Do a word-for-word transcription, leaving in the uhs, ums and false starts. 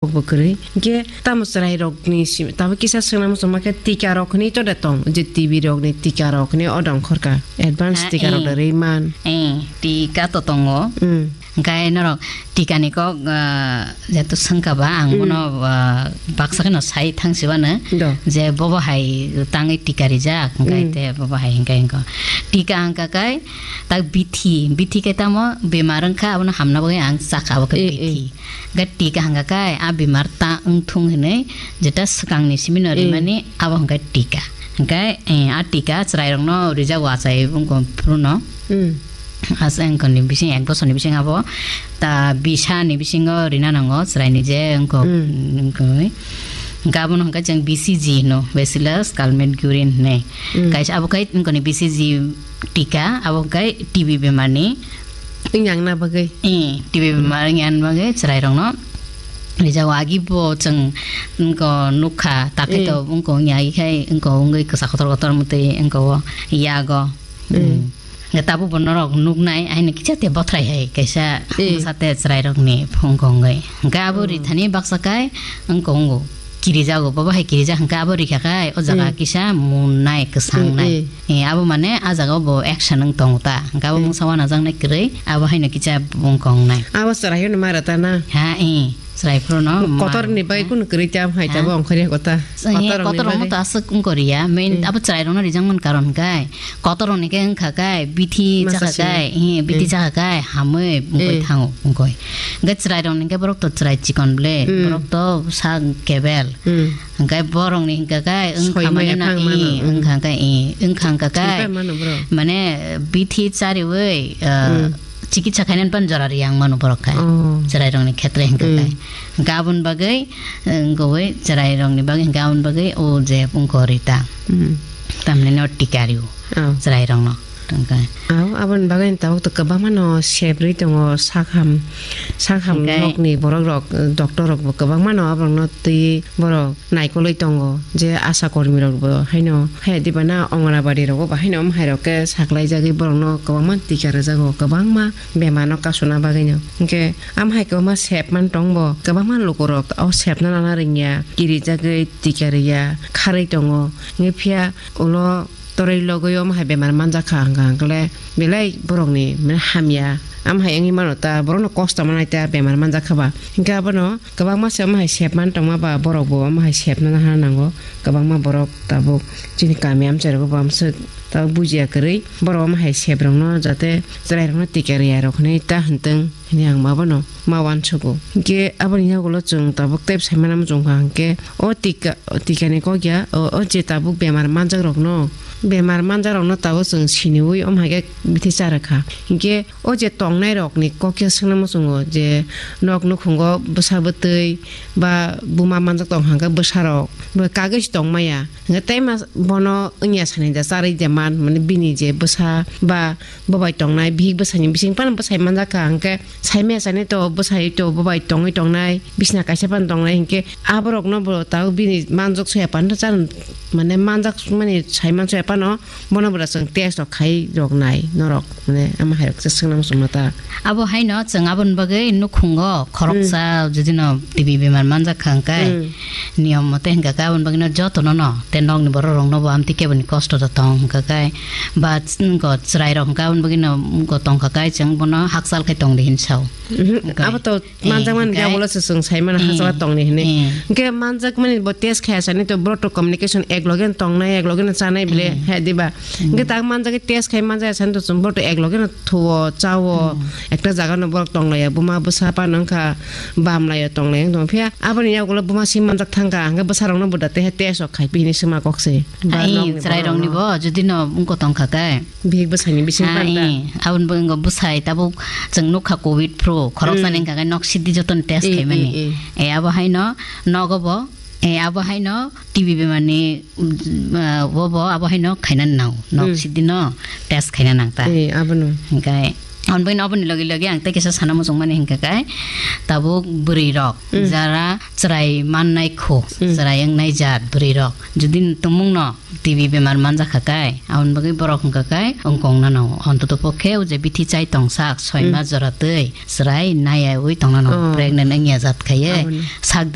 Bo kwrwi. Hwnkhe tamo chwrairokni simi, tamo kisa swnam swngma khe tikarok hwnwi to de tong, je T B rokni tikarok hwnwi o dong khorka, advance Ah, tikarok eh. da rwi man. Eh, tika to tongo. Mm. Hwnkhe norok tikani kok, ah, jehetu swngkha ba, ang Mm. bono, ah, baksa kheno sai thang sibano Do. je bobo hai tangwi tika rijak, hwnkhe Mm. te bobo hai hwnkhe hwnkhe. Tika hwnkha khe tak bithi, bithi khe tamo bemar wngkha, abono hamna bagwi ang chakha, abo khe Eh, eh. bithi. Ga tika hwnkha khe a bemar ta wngthung hinwi jeta swkangni simino Eh. rimani abo hwnkha tika. Hwnkhe, eh, a tika chwrairokno rijak o achai wngkha phuru no. Hmm. Asa wngkha ni bising ek bosorni bising abo ta bisani bisingo rina nango chwraini je wngkha, Hmm. wngkha. Hwnkhe abono hwnkha chwng B C G hino, Bacillus Calmette-Guerin hinwi. Hmm. Kaisa abo khai wngkha ni B C G tika, abo hwnkhe T B bemarni Wngya wngna bagwi. Eh, T B bemar wngya wngna bagwi chwrairokno rijao. Agi bo chwng wngko nukha, takhe Eh. to wngko wngya, agi khai wngko wngwi kwsa kotor kotor mwtwi wngko o yago. Eh. Mm. Nga tabuk bo norok nuknai, aini kicha te bothrai hai kaisa Eh. bwsa te chwrairokni phung kongwi. Hwnkhe abo Oh. rithani baksa kai wngko wngo. Kirijago, bobo hai kirijak hwnkhe abo rikha kai, o jaga Eh. kisa munnai, kwsangnai. Eh, eh. Eh, abo mane a jaga o bo action wng tongo ta. Hwnkhe abo Eh. mungsa wanajaknai kwrwi, abo haino kisa bung kongnai. Abo chwrai hino mara ta na? Ha, eh, chwrai phuru no Kotor ni mara. Bai kunu kwrwi ta hai ta Ha? bo ongkhorya kota. Eh, Kotor ni kotor bai. Rokno to aswk wngkoriya. Main Eh. abo chwrai rokno rijak man karon hwnkhe. Kotor rokni khe wngkha kai, bithi Masa chakha sini. Kai, eh, bithi Eh. chakha kai, hamwi wngkoi Eh. thango, wngkoi. Hwnkhe chwrai rokni khe borok to chwrai chikon ble, Mm. borok to sak kebel. Mm. Hwnkhe borokni hwnkha khe wngkha Soimaya mane na, phang mano, eh, mm. Wngkha khe, eh, wngkha wngkha khe Soipai mano bro. Mane bithi chariwi, ah, Mm. chikitsa khainani pan jora riyang mano borok khe. Oh. Chwrairokni khetre hwnkha khe. Mm. Hwnkhe aboni bagwi, eh, wngkha wi chwrairokni bagwi hwnkhe aboni bagwi o je wngkha rita. Mm. Tamni no tika rio. Oh. Chwrairokno. Tongkha. Aw, aboni bagwi tabuk to kwbangma no sebrwi tongo, sakham, sakham Hwnkhe nokni borok rok, doctor rok bo kwbangma no aborok no twi borok naikolwi tongo, je asha kormi rok bo haino haya diba na Anganabadi rogo bo haino omo hai rok khe saklai jagwi borok no kwbangma tika rwjago, kwbangma bemar no kasuna bagwi no. Hwnkhe am hai kwbangma sep man tong bo, kwbangma luku rok o sepno nana rwngya, kiri jagwi tika rwya, kharwi tongo. Hwnkhe phiya ulo toroi logoi omo hai bemar manjak kha hwnkha hwnkhe le belai borokni mane hamya. Am hai wngwi mano ta, borokno kosto manai ta bemar manjak kha ba. Hwnkhe abono kwbangma se omo hai sep man tongma ba borok bo omo hai sepna nahana nango. Kwbangma borok tabuk chini kami amchai rogo bo amswk tabuk bujiya kwrwi borok omo hai sep rokno jate chwrai rokno tika rwya rok hinwi ta hwntwng. Hini ang ma bono ma uansugo. Hingke aboni yagulo chwng tabuk tei saimano muchungkha hingke o tika, o tikani kok ya, o, o je tabuk bemar manjakrokno, bemar manjakrokno tabuk chwng siniui omo hai khe bithi cha rwkha. Hingke o je tongnairokni kok ya swngna muchungo je nok nukhungo bwsa bwtwi ba buma manjak tong hangkhe bwsarok bo kagwi se tongmaya. Hingke tei mas-, bono wngya sani da charwi de man, mane bini je bwsa ba bobai tongnai, bihik bwsaini bising phano bwsai manjak kha, hingke saimaya sani to bwsai to bobai tongwi tongnai, bisna kaisa phano tongnai, hingke aborokno bo tabuk bini manjak soya phano chan, mane manjak mani sai man soya phano bono bwra chwng test rok khai rok nai norok, mane ama hai rok se swngna muchungma ta. Abo haino chwng aboni bagwi nukhungo khoroksa Hmm. jodi no T B bemar manjak kha hingke Hmm. niyom mote hingka khe aboni bagwi no joto no no te nokni borok rok no bo amtwi keboni kosto da tong hingka khe ba ch-, wngko chwrai rok hingka aboni bagwi no wngko tongkha khe chwng bono hakchal khe tong di hin sao. Mhm. Hingka Abo to Eh, manjakmani hingke, khe abole se chwng sai mano eh, hachal tongni hinwi. Eh. Hingke manjakmani bo test khaya sani to borok to communication ek loge no tongnai, ek loge no chanai bile Eh. he diba. Hmm. Hingke tak manjak test khai manjak sani to chwng borok to ek loge no thuo, chao, Hmm. ekta jaga no borok tonglaiya, buma bwsa phano wngkha bamlaiya tonglaiya wng tong. Phiya aboni yagulo buma sim manjak thangkha, hingke bwsarok no bo da teha test rok khai phi hinwi swma kok se. Ba Ai, nokni chwrai borok rokni no. Bo jodi no wngko tongkha khe. Bihik bwsaini bising Ah, panta. Eh, aboni bagwi wngkha bwsai tabuk chwng nukha covid phru, khoroksa Hmm. ni hingka khe nok sidi jotono test Eh, khaimani. Eh, eh. Eh, abo haino nogo bo, eh, abo haino T B bemarni, mm, ah, bo bo abo haino khaina nang, nok Hmm. sidi no test khaina nang ta. Eh, abono. Hingkai aboni bagwi no aboni logi logi ang tei kisa sana muchungmani hingka khe tabuk bwrwi rok Hmm. jara chwrai mannai khu, Hmm. chwrai wngnai jat bwrwi rok. Jodi tumung no T B bemar manjak kha kai, aboni bagwi borok hwnkha kai wngkong nano. Ontoto pokhe o je bithi chai tongsak, soi Hmm. mas jora twi chwrai naiyaui tong nano. Oh. Pregnant wngya jat khaiye. Aboni. Sak